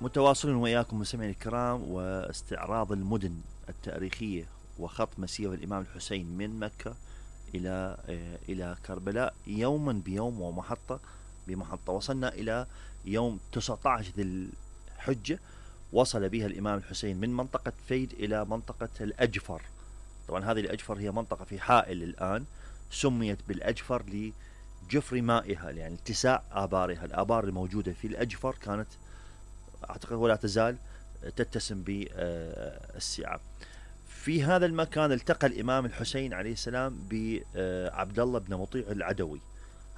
متواصلون وإياكم مستمعينا الكرام واستعراض المدن التاريخية وخط مسير الإمام الحسين من مكة إلى كربلاء يوما بيوم ومحطة بمحطة. وصلنا إلى يوم 19 ذي الحجة، وصل بها الإمام الحسين من منطقة فيد إلى منطقة الأجفر. طبعا هذه الأجفر هي منطقة في حائل الآن، سميت بالأجفر لجفر مائها، يعني اتساع آبارها. الآبار الموجودة في الأجفر كانت أعتقد ولا تزال تتسم بالسعة. في هذا المكان التقى الإمام الحسين عليه السلام بعبد الله بن مطيع العدوي.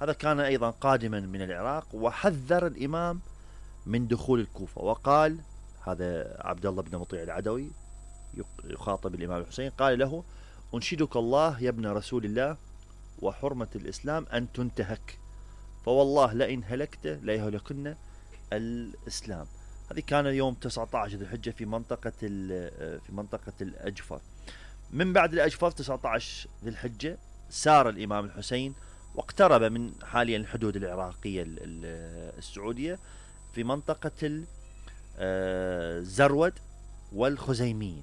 هذا كان أيضا قادما من العراق، وحذر الإمام من دخول الكوفة، وقال هذا عبد الله بن مطيع العدوي يخاطب الإمام الحسين، قال له: أنشدك الله يا ابن رسول الله وحرمة الإسلام أن تنتهك، فوالله لئن هلكت ليهلكن الإسلام. هذه كان يوم 19 ذي الحجة في منطقة الأجفر. من بعد الأجفر 19 ذي الحجة سار الإمام الحسين واقترب من حاليا الحدود العراقية السعودية في منطقة الزرود والخزيمية.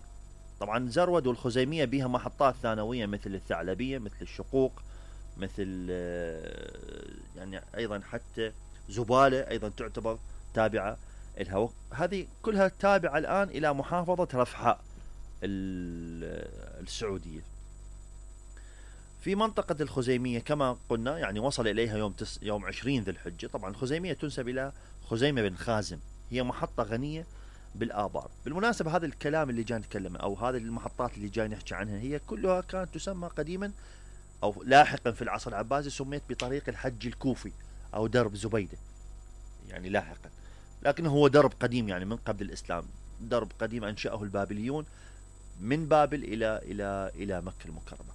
طبعا زرود والخزيمية بها محطات ثانوية مثل الثعلبية، مثل الشقوق، مثل يعني أيضا حتى زبالة أيضا تعتبر تابعة لها. هذه كلها تابعة الآن إلى محافظة رفحاء السعودية. في منطقة الخزيمية كما قلنا يعني وصل إليها يوم 20 ذي الحجة. طبعا الخزيمية تنسب إلى خزيمة بن خازم، هي محطة غنية بالآبار. بالمناسبة هذا الكلام اللي جاي نتكلمه أو هذه المحطات اللي جاي نحكي عنها هي كلها كانت تسمى قديما أو لاحقا في العصر العباسي سميت بطريق الحج الكوفي أو درب زبيدة، يعني لاحقا، لكن هو درب قديم يعني من قبل الإسلام، درب قديم أنشأه البابليون من بابل إلى مكة المكرمة.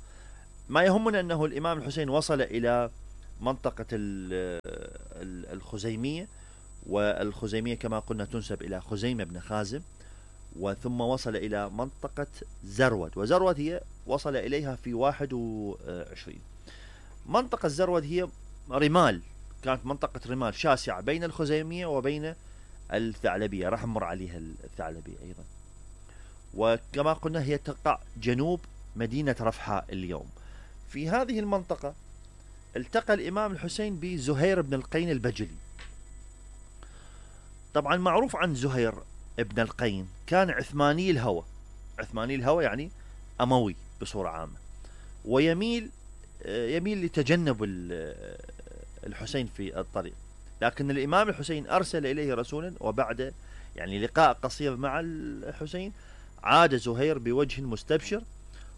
ما يهمنا أنه الإمام الحسين وصل إلى منطقة الخزيمية، والخزيمية كما قلنا تنسب إلى خزيمة بن خازم، وثم وصل إلى منطقة زرود، وزرود هي وصل إليها في 21. منطقة زرود هي رمال، كانت منطقة رمال شاسعة بين الخزيمية وبين الثعلبية، راح نمر عليها الثعلبية أيضا. وكما قلنا هي تقع جنوب مدينة رفحاء اليوم. في هذه المنطقة التقى الإمام الحسين بزهير بن القين البجلي. طبعا معروف عن زهير ابن القين كان عثماني الهوى، عثماني الهوى يعني أموي بصورة عامة، ويميل لتجنب الحسين في الطريق. لكن الإمام الحسين أرسل إليه رسولا، وبعد يعني لقاء قصير مع الحسين عاد زهير بوجه مستبشر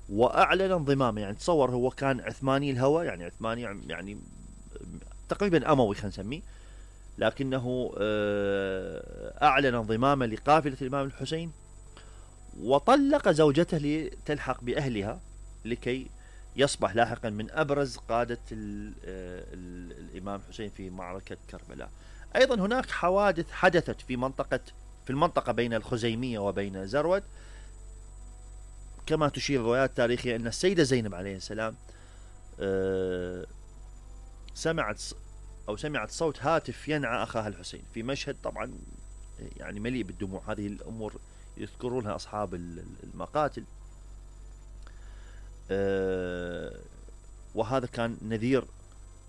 وأعلن انضمامه. يعني تصور هو كان عثماني الهوى، يعني عثماني يعني تقريبا أموي خلينا نسميه، لكنه أعلن انضمامه لقافلة الإمام الحسين، وطلق زوجته لتلحق بأهلها لكي يصبح لاحقا من أبرز قادة الإمام الحسين في معركة كربلاء. أيضا هناك حوادث حدثت في المنطقة بين الخزيمية وبين زرود، كما تشير الروايات التاريخية أن السيدة زينب عليه السلام سمعت صوت هاتف ينعى أخاها الحسين في مشهد طبعا يعني مليء بالدموع. هذه الأمور يذكرونها أصحاب المقاتل، وهذا كان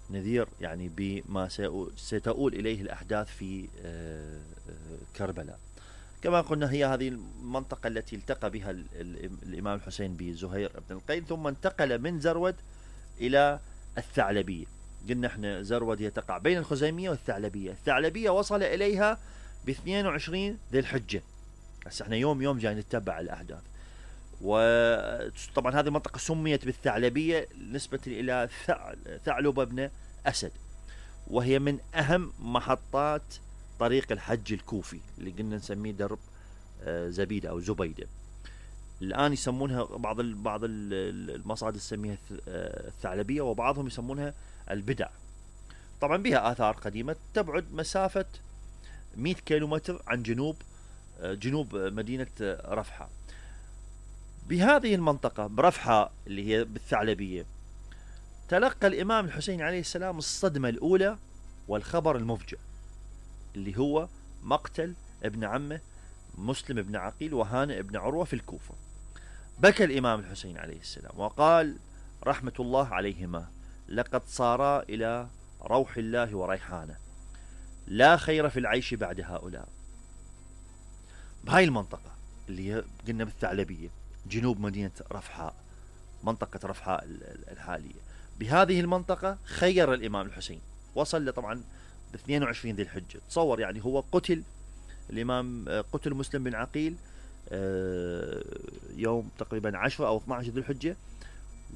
نذير يعني بما ستؤول إليه الأحداث في كربلاء. كما قلنا هي هذه المنطقة التي التقى بها الإمام الحسين بزهير بن القين، ثم انتقل من زرود إلى الثعلبية. قلنا احنا زرود يتقع بين الخزيمية والثعلبية. الثعلبية وصل إليها ب 22 ذي الحجة. هسه احنا يوم جاي نتبع الأحداث. وطبعا هذه المنطقة سميت بالثعلبية نسبة إلى ثعلبة بن أسد، وهي من أهم محطات طريق الحج الكوفي اللي قلنا نسميه درب زبيدة أو زبيدة. الآن يسمونها بعض المصادر تسميها الثعلبية، وبعضهم يسمونها البدع. طبعا بها آثار قديمة تبعد مسافة 100 كيلومتر عن جنوب مدينة رفحاء. بهذه المنطقة برفحاء اللي هي بالثعلبية تلقى الإمام الحسين عليه السلام الصدمة الأولى والخبر المفجع اللي هو مقتل ابن عمه مسلم بن عقيل وهانئ بن عروة في الكوفة. بكى الإمام الحسين عليه السلام وقال رحمة الله عليهما: لقد صارا إلى روح الله وريحانه، لا خير في العيش بعد هؤلاء. بهاي المنطقة اللي قلنا بالثعلبية جنوب مدينة رفحاء، منطقة رفحاء الحالية، بهذه المنطقة خير الإمام الحسين. وصل طبعا ب 22 ذي الحجة. تصور يعني هو قتل الإمام، قتل مسلم بن عقيل يوم تقريبا 10 أو 12 ذي الحجة،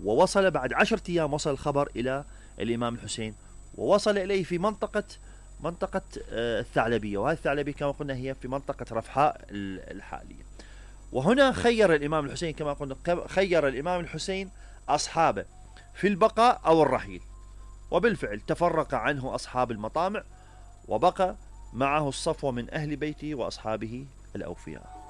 ووصل بعد 10 أيام وصل الخبر إلى الإمام الحسين، ووصل إليه في منطقة الثعلبية، وهذه الثعلبية كما قلنا هي في منطقة رفحاء الحالية. وهنا خير الإمام الحسين كما قلنا، خير الإمام الحسين أصحابه في البقاء أو الرحيل، وبالفعل تفرق عنه أصحاب المطامع، وبقى معه الصفوة من أهل بيته وأصحابه الأوفياء.